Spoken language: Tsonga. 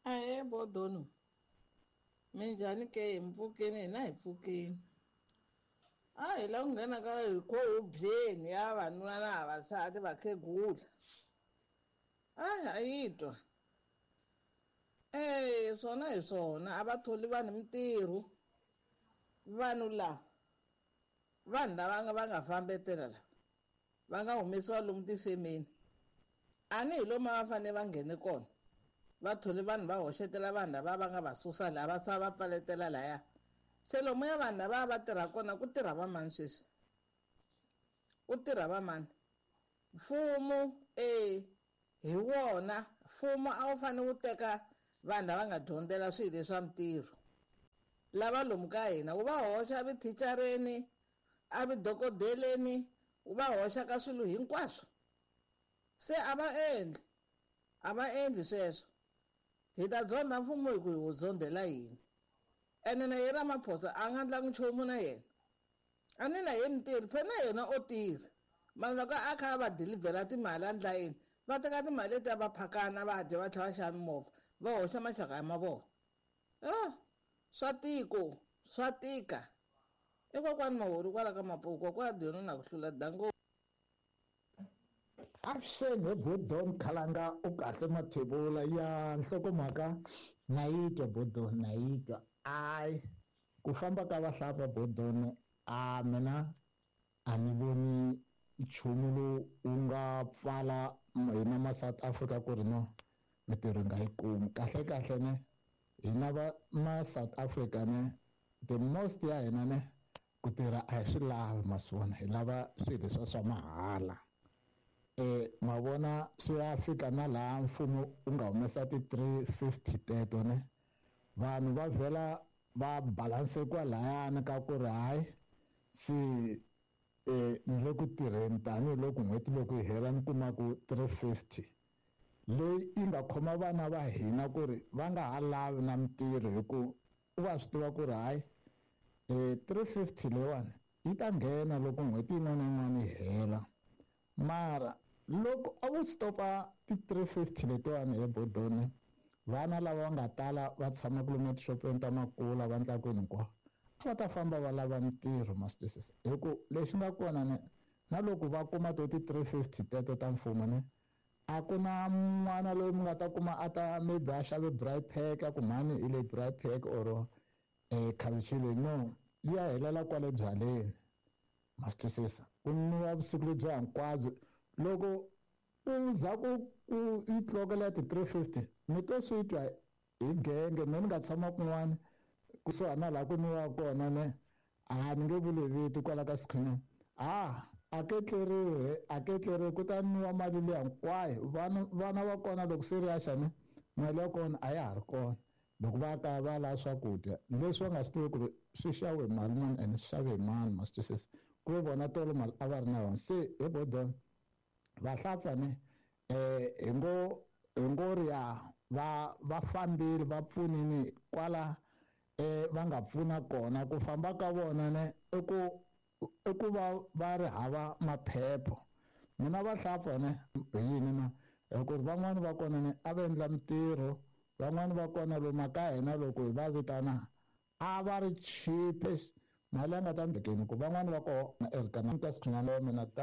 Ahee Bodono, minjhani ke? Hi mpfukeni hina hi pfukeni. A hi la ku nghena ka hikhohubyeni ya vavanuna na vavasati vakhegula. A yi twa. E swona hi swona a va tholi vanhu mintirho. Vanhu lava vanhu lava va nga fambetela lava va nga humesiwa lomu tifemeni a ni hi lomu a va fanele va nghene kona. Va thole vanhu va hoxetela vanhu lava va nga va susa laha va sala va pfaletela laya. Se lomuya vanhu lava va tirha kona ku tirha va mani sweswi? Ku tirha va mani? Mfumo e hi wona mfumo a wu fanele wu teka vanhu lava nga dyondzela swilo leswa mintirho lava lomu ka hina wu va hoxa evuthicareni evudokodeleni wu va hoxa ka swilo hinkwaswo. Se a va endli a va endli sweswo. Hi ta dzonda mfumo hi ku hi wu dzondela yini? Ene na ye Ramaphosa a nga ndlangi nchumu na yena. A ni na ye mintirho phela na yena o tirha. Mara loko a kha a va dilivhela timali a ndla yini va teka timali letiya va phakana va dya va tlhela va xava mimovha va hoxa maxaka ya mavona. Swa tiko swa tika. I kokwani Mahori kwala ka Mapuku kokwani Dyoni na ku hlula dango. Avuxeni he Bodon Khalanga u kahle Mathebula ya nhlokomhaka na yi twa Bodon na yi twa. Ayi ku famba ka vahlapfa Bodon a mina a ni voni nchumu lowu wu nga pfala hina ma South Africa ku ri no mintirho hi nga yi kumi. Kahle kahle ne hina va ma South Africa ne the most ya hina ne ku tirha a hi swi lavi maswona hi lava swilo leswiya swa mahala. Ma vona swi ya fika na laha mfumo wu nga humesa ti-350 teto ne vanhu va vhela va balance kwalayani ka ku ri hayi se ni le ku tirheni tanihiloko n'hweti loko yi hela ni kuma ku 350 leyi yi nga khoma vana va hina ku ri va nga ha lavi na mintirho hi ku u va swi tiva ku ri hayi 350 leyiwani yi ta nghena loko n'hweti yin'wana na yin'wana yi hela. Mara loko a vo stopa ti-350 letiwani he Bodoni vana lava va nga tala va tshama lomu etixopeni ta makula va endla kwini hinkwako a va ta famba va lava mintirho ma swi twisisa hi ku lexi nga kona ne na loko va kuma to ti-350 teto ta mfumo ne a ku na n'wana loyi mi nga ta kuma a ta maybe a xave braai pack a ku mhani hi le braai pack or khavichi leyi no yi ya helela kwale byaleni ma swi twisisa ku nwiwa vusiku lebyi hinkwabyo loko u za ku ku yi tlokela ti-350 mi to swi twa hi genge me ni nga tshama kun'wana kusuhani na laha ku nwiwa kona ne a ni nge vuli vito kwala ka Sikhunyana a ketleriwi a ketleriwi ku ta nwiwa mali liya hinkwayo vana va kona loko se ri ya xa ne mali ya kona a ya ha ri kona loko va kaya va lava swakudya leswi va nga swi tivi ku ri swi xaviwe hi mali muni ene swi xave hi mani ma swi twisisa ku ve vona tolo mali a va ri na yona se he Bodon vahlapfa ne hi ngo ri ya va fambile va pfunini kwala va nga pfuna kona ku famba ka vona ne i ku va ri hava maphepha mina vahlapfa ne hi yini na hi ku ri van'wani va kona ne a va endla mintirho van'wani va kona lomu ka hina loko hi va vitana a va ri cheapest mali ya nga ta mbekeni ku van'wani va kona erikana ta Sikhunyana wa mina ta.